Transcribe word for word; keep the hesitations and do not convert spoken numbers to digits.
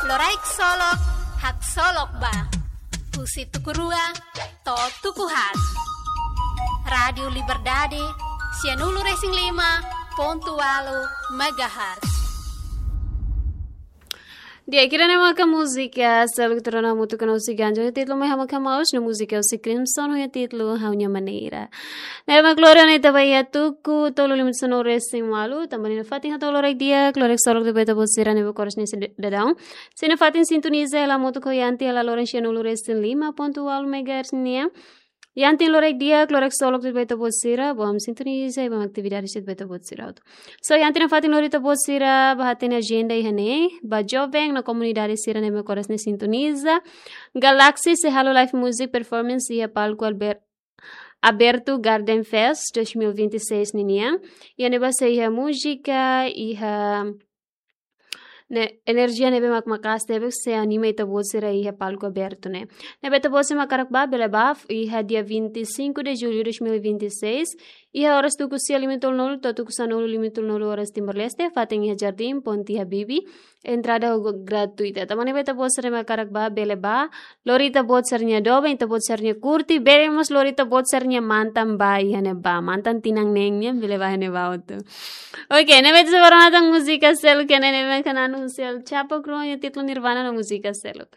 Loraik Solok, Haksolok Ba. Husi tuku rua to'o tuku haat. Rádiu Liberdade, sianulu-resin-lima pontu ualu megahertz. Di'ak, ida-ne'e maka múzika seluk tuir ona hamutuk ho Usi Ganjo, títulu mai Ha'u Mak Ha'u Maus, no múzika Usi Crimson ho títulu Ha'u-nia Maneira. Ne'e mak lori ona ita ba iha tuku tolu limitu sanulu-resin-ualu, tanba ne'e nafatin hato'o loraik di'ak, loraik solok ba ita-boot sira ne'ebé ko'alia husi daudaun. Sei nafatin sintoniza hela hamutuk ho Yanti hela loron sianulu-resin-lima pontu ualu megahertz nian. Yanti, loraik di'ak, loraik solok ba ita-boot sira, bom sintoniza, bom atividade ba ita-boot sira hotu. So, Yanti nafatin lori ita-boot sira ba hatene ajenda iha ne'e, ba joven no komunidade sira ne'ebé ko'alia sintoniza. Galaxy sei halo live music performance iha palku Alber-, abertu Garden Fest dois mil e vinte e seis ninian. Iha ne'ebá sei iha múzika, iha ne'e, enerjia ne'ebé mak maka'as tebes sei anima ita-boot sira iha palku abertu ne'e. Ne'ebé ita-boot sira mak hakarak ba, bele ba, iha dia vinte e cinco de julho de dois mil e vinte e seis, iha oras tuku sia limitol nol, to'o tuku sanulu limitol nol oras Timor-Leste, fatin iha Jardim Ponti Habibie, entrada ho gratuita. Tanba ne'ebé ita-boot sira mak hakarak ba, bele ba, lori ita-boot sira-nia doben, ita-boot sira-nia kurti, bele mós lori ita-boot sira-nia mantan ba iha ne'ebá, mantan tinan neen nian, bele ba iha ne'ebá hotu. Oke, ne'ebé ita sei ba rona tan múzika seluk iha ne'e, ne'ebé mak hanesan El Chapo Crew nia títulu Nirvana no múzika seluk.